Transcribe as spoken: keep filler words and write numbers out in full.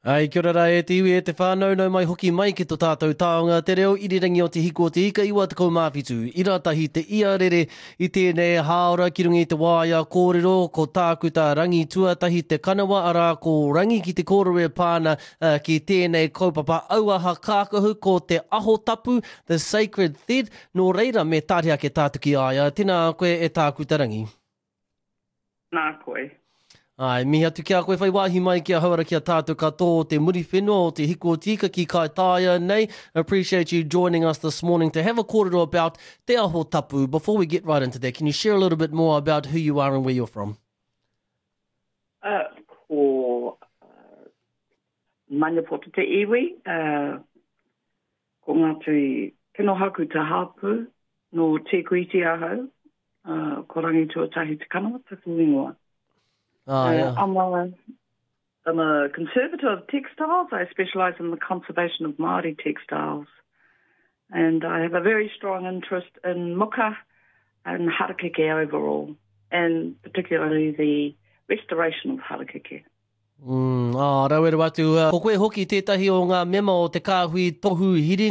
Ai, kia ora rā e te iwi e te whānau, nau mai hoki mai ki to tātou taonga, te reo irirangi o te hiku o te ika iwa tekau mā whitu, ira tahi te ia rere i tēnei hāora ki runga i te waea kōrero, ko tākuta Rangi Tuatahi te kanawa arā ko Rangi ki te kōrero e pā ana uh, ki tēnei kaupapa auaha kākahu ko te aho tapu, the sacred thread, nō reira me tāri ake tātou ki a ia. Tēnā koe e tākuta Rangi. Nā koe. Ai, mihi atu ki a koe whai wāhi mai ki a hauara ki a tātou katoa o te Muriwhenua o te Hiku o Te Ika ki Kaitaia nei. Appreciate you joining us this morning to have a kōrero about Te Aho Tapu. Before we get right into that, can you share a little bit more about who you are and where you're from? Uh, ko uh, Maniapoto te iwi, uh, ko Ngāti Kenohaku te hāpu, no Te Kuiti ahau, uh, ko Rangi Tuatahi te kanawa taku ingoa. Ah, Uh, yeah. I'm, a, I'm a conservator of textiles. I specialise in the conservation of Māori textiles. And I have a very strong interest in muka and harakeke overall, and particularly the restoration of harakeke. Mm, ah, rawe rawa atu. Uh, ko koe hoki tētahi o ngā mema o te kāhui tohu hiringa